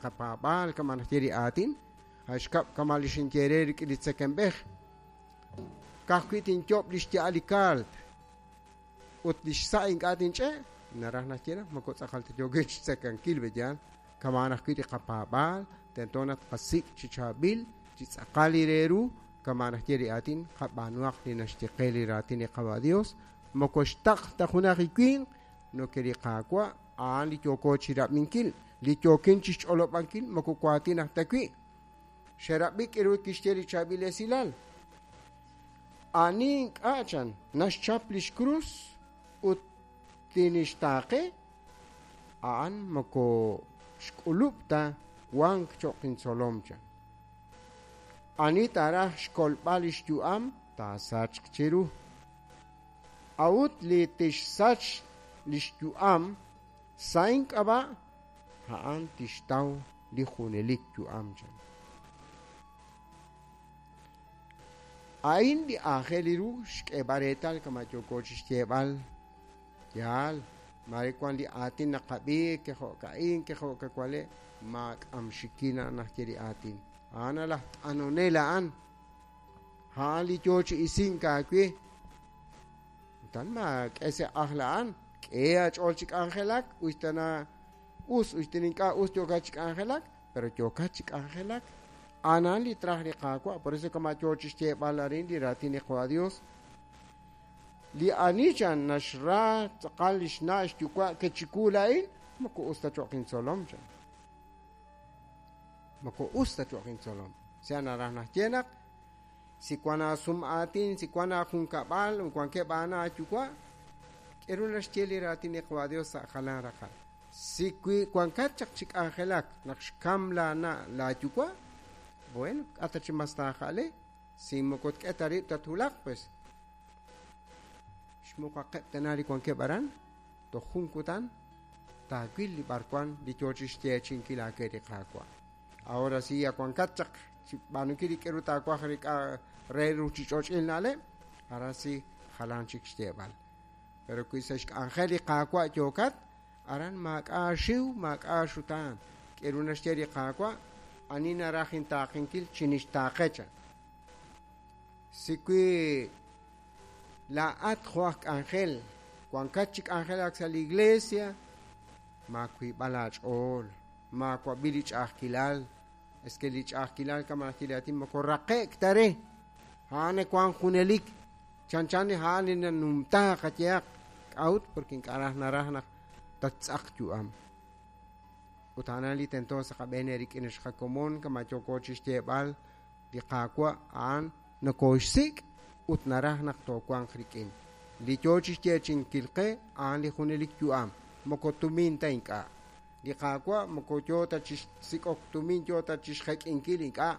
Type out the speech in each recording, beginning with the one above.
qapaab'aal kama' naxye li aatin, a' xkab' kama' li xinye eere rik'in li tzekemb'ej. Ka'ajwi' tinyob' li xya'al li kaalt ut li xsa' ink'a' tinch'e', naraj naxye naq moko tz'aqal ta yookin xtzekankil, pe'yaal? Kama'an ajwi' li qapaab'aal, tento naq tqasik' chi chaab'il, chi tz'aqal li re ru, kama' naxye li aatin, qab'aanuhaq li naxye qe li raatin li Qawa' Dios, moko xtaql ta junaq li winq, noke li Qaawa' a'an li yooko chirab'inkil, li yookin chixch'olob'ankil moko waatin aj ta wi'. Xerab'i k'aru kixye li chaab'il esilal. Ani ink'a' chan naxchap lix krus ut tinixtaaqe, a'an moko xk'ulub' ta wank cho'q intzolom chan. Ani taaraj xkolb'al li xyu'am taasachq chiru. A'ut li tixsach li xyu'am sa' ink'ab'a', a'an tixtaw li junelik yu'am chan. A'in li aajel ru xk'eeb'al reetal kama' yooko chixyeeb'al. Yaal, maare wan li aatin naqab'i, kejo'ka'in, kejo'kawale', maak'amxikin a'an naxye li aatin. A'an laj t'anonel a'an. A'an li yoo chi isink aawe. Utan maak'e sa' ajl a'an, k'e aach'ool chi k'anjelak, us ta na us, us ta ink'a' us yookat chi k'anjelak, pero yookat chi k'anjelak. A'an li traj li Qaawa', por eso kama' yoo chi xyeeb'al arin li raatin li Qawa' Dios. Li ani chan naxra tz'aqal li xna' xyuwa' ke chiwu laa'in, moko us ta cho'q intzolom chan. Moko us ta cho'q intzolom. Sea naraj naxye naq si wan aasum aatin, si wan aajunkab'al, wankeb' aana aayuwa', k'aru naxye li raatin li Qawa' Dios sa' jalan raqal. Si wi wankat chaq chi k'anjelak naq xkam laana' laayuwa', bueno, k'a' ta chi mas taaja'le, si moko tk'e ta rib' tatwulaq, pues xmuqaqeb' tana li wankeb' aran, toj jun kutan taawil li b'arwan li yoo chi xyeechi'inkil aawe li Qaawa'. Ahora si wankat chaq chi b'aanunkil li k'aru taawaj re ruuchich'och'il na'leb', ahora si jalan chik xyeeb'al. Pero wi sa' xk'anjel li Qaawa' yookat, aran maak'a' xiw, maak'a' xutaan. K'aru naxye li Qaawa', ani naraj intaaqenkil chinixtaaqe chan. Si wi laa'at jo' aj k'anjel, wankat chi k'anjelak sa' li iglesia, maawiib'al aach'ool, maawab'i li ch'a'ajkilal. Es que li ch'a'ajkilal kama' naxye li aatin moko raqe'k ta re. A'an wank junelik. Chanchan a'an li nanumtaaq qayehaq. K'a'ut? Porque ink'a' raj naraj naq tattz'aq yu'am. Ut a'an li tento sa' qab'een rik'in xqakomon kama' yooko chi xyeeb'al li Qaawa' a'an nokooxsik' ut naraj naq toowanq rik'in. Li yoo chi xyeechi'inkil qe a'an li junelik yu'am, moko tumin ta ink'a'. Li Qaawa' moko yoo ta chi xsik'ok tumin, yoo ta chi xjek'inkil ink'a'.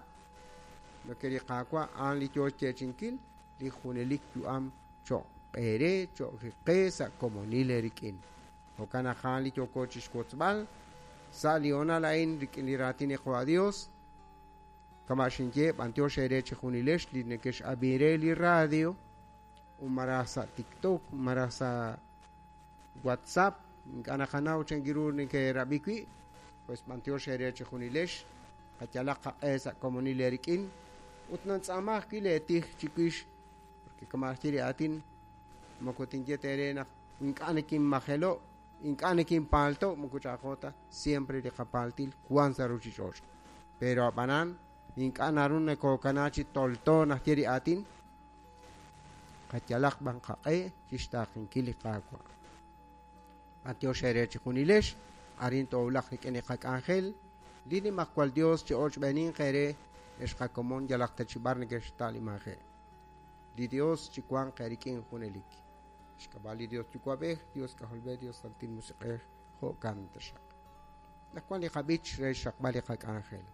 Lo que li Qaawa' a'an li yoo xyeechi'inkil li junelik yu'am cho'q eere, cho'q qe sa' komonil eerik'in. Jo'kan naq a'an li yooko chi xwotzb'al sa' li hoonal a'in rik'in li raatin li Qawa' Dios. Kama' xinye b'antiox eere chi junilex li nekex'ab'i re li radio, maraj sa' TikTok, maraj sa' WhatsApp, ink'a' naqanaw chan ru neke'rab'i wi', pues b'antiox eere chi junilex, qayalaq qaq'e sa' komonil eerik'in, ut nantz'aama ajwi' leetij chiwix, porque kama' naxye li aatin, moko tinye teere naq ink'a' nekinmajelo', ink'a' nekinpaalto', moko ch'a'ajko ta, siempre li qapaaltil wan sa' ruuchich'och'. Pero ab'anan, ink'a' naru nakokana chi tolto naxye li aatin, qayalaq b'an qaq'e chi xtaaqenkil li Qaawa'. B'antiox eere chi junilex, arin toowulaq rik'in li qak'anjel, li Nimajwal Dios chi ochb'eeninq eere ex qakomon yalaq ta chi b'ar nekexta'limaje'. Li Dios chi wanq eerik'in junelik. Xk'ab'a' li Dios Yuwa'b'ej, Dios K'ajolb'ej, Dios Santil Musiq'ej, jo'kan taxaq. Naq wan li qab'ich re xraqb'al li qak'anjel.